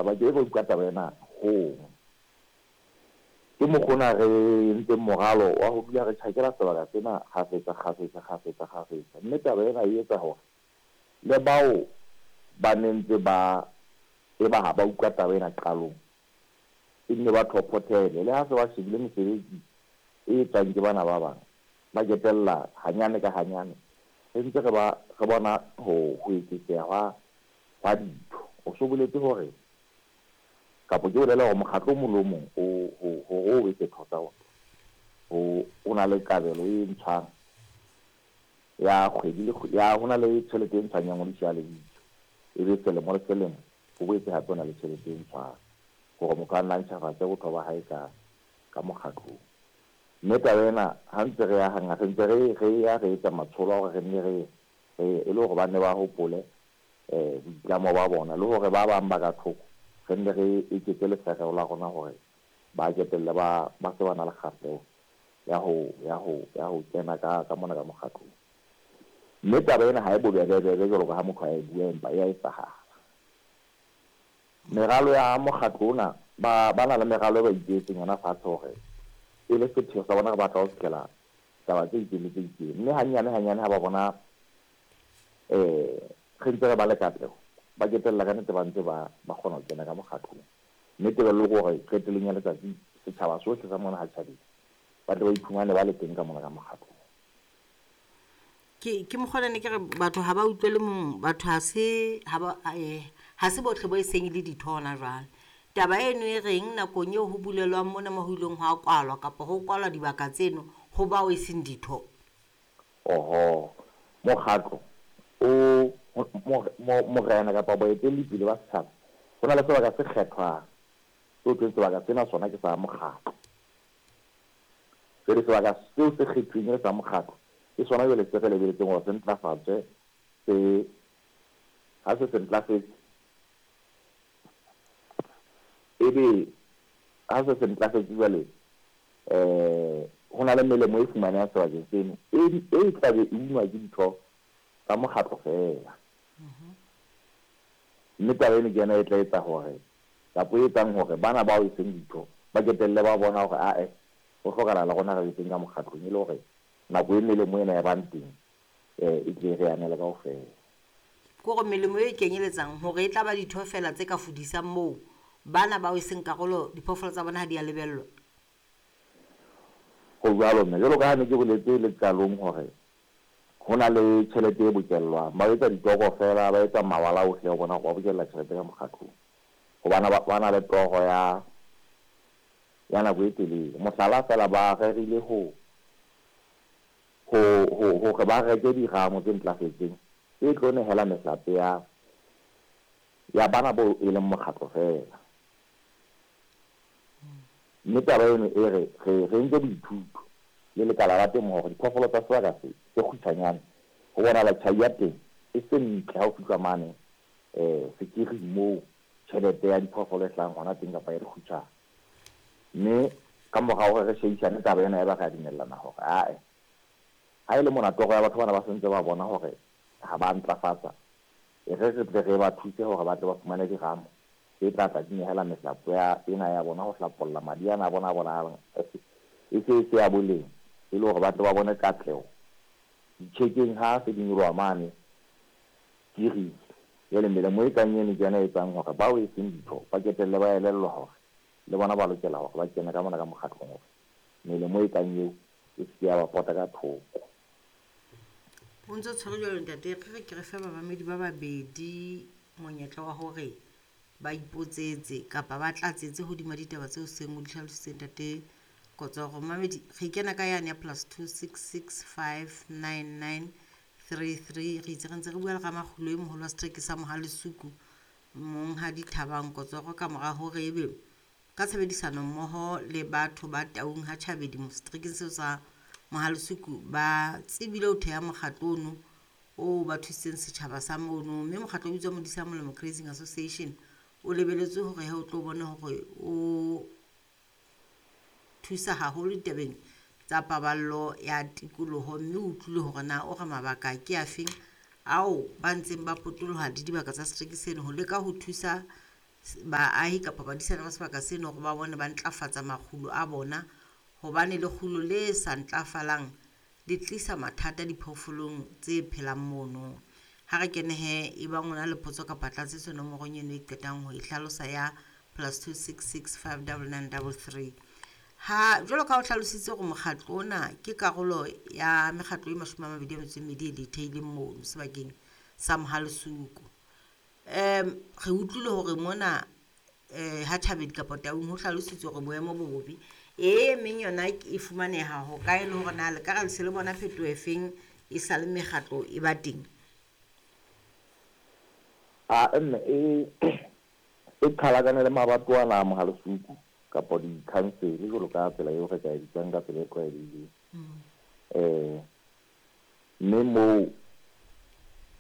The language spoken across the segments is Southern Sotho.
Ba ke ba utlwa taba ena hong. Ke mokgwa ona re entseng moralo wa ho dula re tjhakela sebaka sena kgafetsa, kgafetsa, kgafetsa, kgafetsa. Mme taba ena e etsa hore le bao ba ne ntse ba eba ha ba utlwa taba ena qalong, e nne ba thophothele. Le ha se ba shebile mesebetsi e etswang ke bana ba bang, ba ketella hanyane ka hanyane, re ntse re ba re bona ho eketseha hwa ditho. O so boletse hore kapa ke bolela hore mokgatlo o mong le o mong o hore o be setho sa ona, o na le kabelo e ntshwang ya kgwedi le ya ho na le tjhelete e ntshwang ya ngodiso ya lebitso, e be selemo le selemo ho boetse hape ho na le tjhelete e ntshwang hore motho a nna ntjhafatse botho ba hae ka mokgatlong. Mme taba ena ha ntse re ya hangata, re ntse re ya re etsa matsholo a hore re nne re e le hore ba nne ba hopole boitlamo ba bona, le hore ba bang ba ka thoko re nne re eketse lefereo la rona hore ba ketelle ba se ba na le kgahleho ya ho kena ka mona ka mokgatlong. Mme taba ena ha e bobebebebe jwalo ka ha motho a e bua, empa e a etsahala. Meralo ya mokgatlo ona, ba na le meralo e ba ipehetseng yona fatshe hore e le sepheo sa bona re batla ho fihlela taba tse itseng le tse itseng. Mme hanyane hanyane ha ba bona re ntse re ba le katleho, ba ketella ka nnete ba ntse ba kgona ho kena ka mokgatlong. Mme tebello ke hore qetellong ya letsatsi setjhaba sohle sa mona ha tjhabile, ba tle ba iphumane ba le teng ka mona ka mokgatlong. Ke mokgwa ne ke re batho ha ba utlwele mong, batho ha se ha ba ha se bohle bo e seng le ditho hona jwale. Taba eno e reng nakong eo ho bulelwang mona mo ho ileng hwa kwalwa kapa ho kwalwa dibaka tseno ho bao e seng ditho? Oho, mokgatlo o morena kapa boetelli pele ba setjhaba, ho na le sebaka se kgethwang seo thweng sebaka sena sona ke sa mokgatlo. Jwale sebaka seo se kgethuweng e le sa mokgatlo ke sona jwale se re lebeletseng hore se ntlafatswe, se ha se se ntlafetse, ebe ha se se ntlafetse jwale ho na le melemo e fumanehang sebakeng seno e tlabe e unwa ke ditho tsa mokgatlo feela. Mme taba eno ke yona e tla etsa hore kapa e etsang hore bana bao e seng ditho ba ketelle ba bona hore ae ho hlokahala le rona re be teng ka mokgatlong, e le hore nako e melemo ena ya bang teng e tle re anele kaofela. Ke hore melemo e kenyeletsang hore e tla ba ditho feela tse ka fudisang moo bana bao e seng karolo diphoofolo tsa bona ha di a lebellwa. Ho jwalo mme, jwalo ka ha ne ke boletse le qalong hore ho na le tjhelete e bokellwang, ba etsa ditoko feela, ba etsa mawala ohle ho bona hore ba bokella tjhelete ka mokgatlong, hobane ba na le toro ya nako e telele. Mohlala feela, ba rerile ho hore ba reke diramo tse ntlafetseng tse tlo nehela mehlape ya bana bo e leng mokgatlo feela. Mme taba eno e re re entse boithuto le lekala la temo hore diphoofolo tsa sebaka se se kgutshwanyane ho bonahala tjhai ya teng e se ntle ha ho fihlwa mane sekiring moo tjhelete ya diphoofolo e hlahang hona teng kapa ya dikgutshwane. Mme ka mora hore re shebisane taba ena, ya ba re a dumellana hore ae ha e le mona toro ya batho bana ba sentse ba bona hore ha ba ntlafatsa, e re re tle re ba thuse hore ba tle ba fumane diramo tse tla tla di nehela mehlapo ya ena ya bona ho hlapolla madi ana a bona a bonahalang e se e se ya boleng, e le hore ba tle ba bone katleho ditjhekeng ha se di nyoloha mane kiring. Jwale melemo e kang eno ke yona e etsang hore bao e seng ditho ba ketelle ba elellwa hore le bona ba lokela hore ba kene ka mona ka mokgatlong hore melemo e kang eo e se ke ya ba pota ka thoko. O ntso tshwere jwalo ntate, re re ke re fe bamamedi ba babedi monyetla wa hore ba ipotsetse kapa ba tlatsetse hodima ditaba tseo seng o di hlalositse ntate Kotsoro. Mamedi, re kena ka yane ya +266 599 33. Re itse re ntse re bua le Ramakgulo e moholo wa setereke sa Mohalesuku, Monghadi Thabang Kotsoro, ka mora hore ebe ka tshebedisano mmoho le batho ba Taung ha Tjhabedi seterekeng seo sa Mohalesuku ba tsebile ho theha mokgatlo ono o ba thusitseng setjhaba sa mono. Mme mokgatlo o bitswa Modisa Molemo Grazing Association o lebeletswe hore he o tlo bone hore o thusa haholo ditabeng tsa paballo ya tikoloho, mme o utlwile hore na o re mabaka ke afeng ao ba ntseng ba potoloha le dibaka tsa setereke seno ho leka ho thusa Baahi kapa badisana ba sebaka seno hore ba bone ba ntlafatsa makgulo a bona hobane lekgulo le sa ntlafalang le tlisa mathata diphoofolong tse phelang mono. Ha re kene he e bang o na le potso kapa tlatsetso nomorong eno e qetang ho e hlalosa ya +266 599 33. Ha jwalo ka ha o hlalositse hore mokgatlo ona ke karolo ya mekgatlo e 28 e le theileng mono sebakeng sa Mohalesuku. Re utlwile hore mona ha Thabedi kapa Taung ho hlalositswe hore boemo bo bobe. E meng yona e fumaneha ho kae le hore na le ka re le se le bona phetoho e feng e sa le mekgatlo e ba teng? A mme e qhalakane le mabatowa ana a Mohalesuku kapa di-council jwalo ka tsela eo re ka e bitsang ka tsela e tlwaelehileng. Mme moo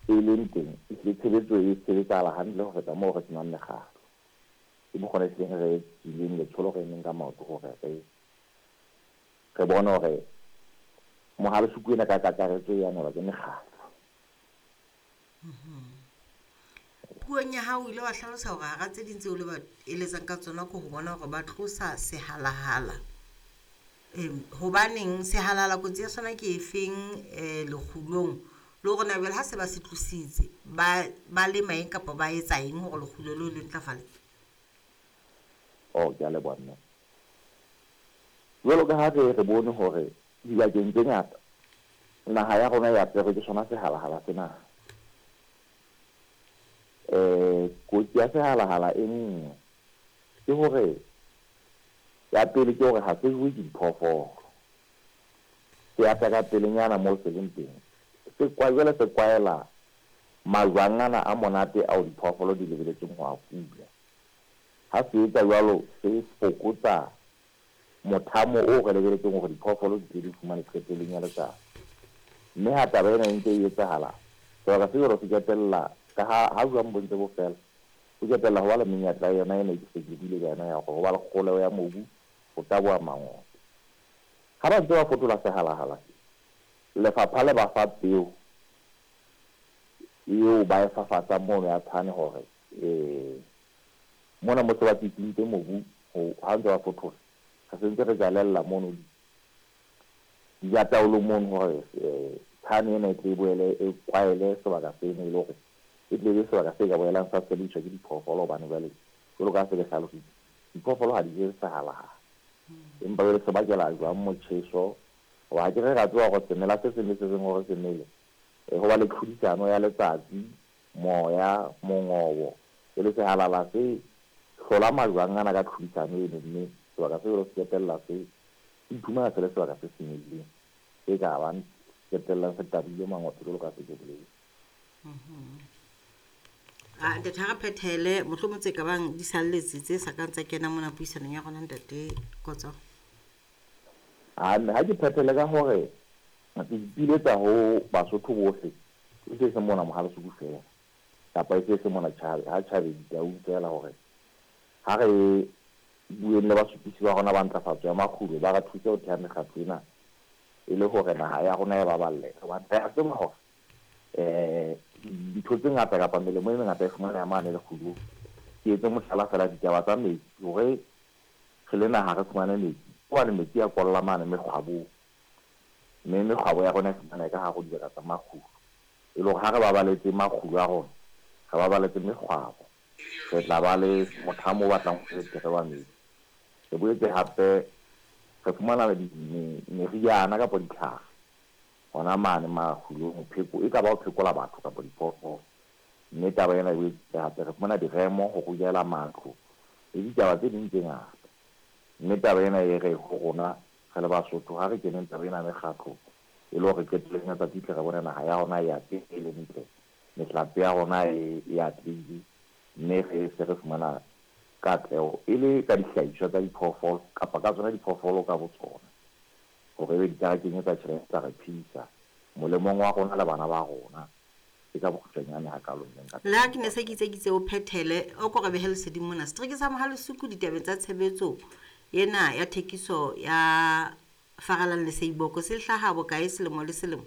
e leng teng ehlile tshebetso e sebetsahala hantle ho feta moo re senang mekgatlo. Ke mokgwa e hlileng re tswileng letsholo re emeng ka maoto hore re bone hore Mohalesuku ena ka kakaretso e amohelwa ke mekgatlo. Puong ya hao o ile wa hlalosa hore hara tse ding tseo le ba eletsang ka tsona ke ho bona hore ba tlosa sehalahala. Hobaneng sehalahala kotsi ya sona ke efeng lekgulong? Le hore na jwale ha se ba se tlositse ba lema eng kapa ba etsa eng hore lekgulo leo le ntlafale? Oh, ke a leboha mme. Jwalo ka ha re bone hore dibakeng tse ngata naha ya rona e aperwe ke sona sehalahala sena. Kotsi ya sehalahala e nngwe ke hore ya pele ke hore ha se jowe ke diphoofolo. Se ata ka pelenyana moo se leng teng. Se jwale se kwaela majwang ana a monate ao diphoofolo di lebeletseng ho a fula. Ha se etsa jwalo se fokotsa mothamo o re lebeletseng hore diphoofolo di tle di fumane qetellong ya letsatsi. Mme ha taba ena e ntse e etsahala, sebaka se jwalo se qetella ka ha jwang bo ntse bo fela, ho qetella ho ba le menyetla yona ena e ke se ke buile ka yona ya hore ho ba le kgoleho ya mobu, ho taboha mangope. Ha ba ntse ba fotola sehalahala, lefapha le ba fa peo eo ba e fafatsang mono ya tshane hore mona mo se ba tsitsintse mobu ha ntse ba fothola, re sentse re jalella mono dijataolo mono hore tshane ena e tle e boele e kwaele sebaka seno e le hore e tle be sebaka se ka boelang sa sebediswa ke diphoofolo hobane jwale jwalo ka ha se ke hlalositse, diphoofolo ha di je sehalahala. Empa jwale se bakela jwang motjheso? Hoba ha ke re ra tseba hore semela se seng le se seng hore se mele, ho ba le tlhodisano ya letsatsi, moya, mongobo. Jwale sehalala se hlola majwang ana ka tlhodisano eno, mme sebaka se jwalo se qetella se iphumana se le sebaka se senyehileng, se ka bang qetellang se tabile mangope jwalo ka se ke boletse. Ntate ha re phethele mohlomong tse ka bang di salletse tse sa kang tsa kena mona puisanong ya rona ntate Kotso. Ha ke phethele ka hore ke ipiletsa ho Basotho bohle, e se se mona Mohalesuku fela kapa e se se mona ha Tjhabedi Taung fela, hore ha re bueng le basupisi ba rona ba ntlafatso ya makgulo ba re thuse ho theha mekgatlo ena e le hore naha ya rona e baballe. Hobane re a tseba hore dintho tse ngata kapa melemo e mengata e fumaneha mane lekgulong. Ke etse mohlala fela ditaba tsa metsi, hore re le naha re fumane metsi, hobane metsi a kolla mane mekgwabong, mme mekgwabo ya rona e fumaneha ka hare ho dibaka tsa makgulo. E le hore ha re babaletse makgulo a rona, re babaletse mekgwabo, re tla ba le mothamo o batlang ho betere wa metsi. Re boetse hape re fumana meriana kapa ditlhare hona mane makgulong, pheko e ka ba ho phekola batho kapa diphoofolo. Mme taba ena e boetse hape re fumana diremo ho rullela matlo le ditaba tse ding tse ngata. Mme taba ena e re ho rona re le Basotho ha re keneng taba ena mekgatlo e le hore qetellong ya tsatsi tle re bone naha ya rona e atlehile ntle, mehlape ya rona e atlehile, mme re se re fumana katleho e le ka dihlahiswa tsa diphoofolo kapa ka tsona diphoofolo ka botsona, hore ebe di ka re kenyetsa tjhelete tsa re phedisa molemong wa rona le bana ba rona. Ke ka bokgutshwanyane hakalo mme nka Le ha ke ne se ke itse ke itse o phethele, o ko re behe leseding mona. Setereke sa Mohalesuku ditabeng tsa tshebetso ena ya thekiso ya Faralang le Seiboko se hlaha bokae selemo le selemo?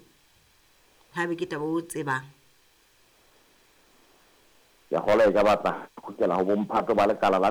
Haebe ke taba o tsebang. Ke a kgolwa e ka batla kgutlela ho bomphato ba lekala la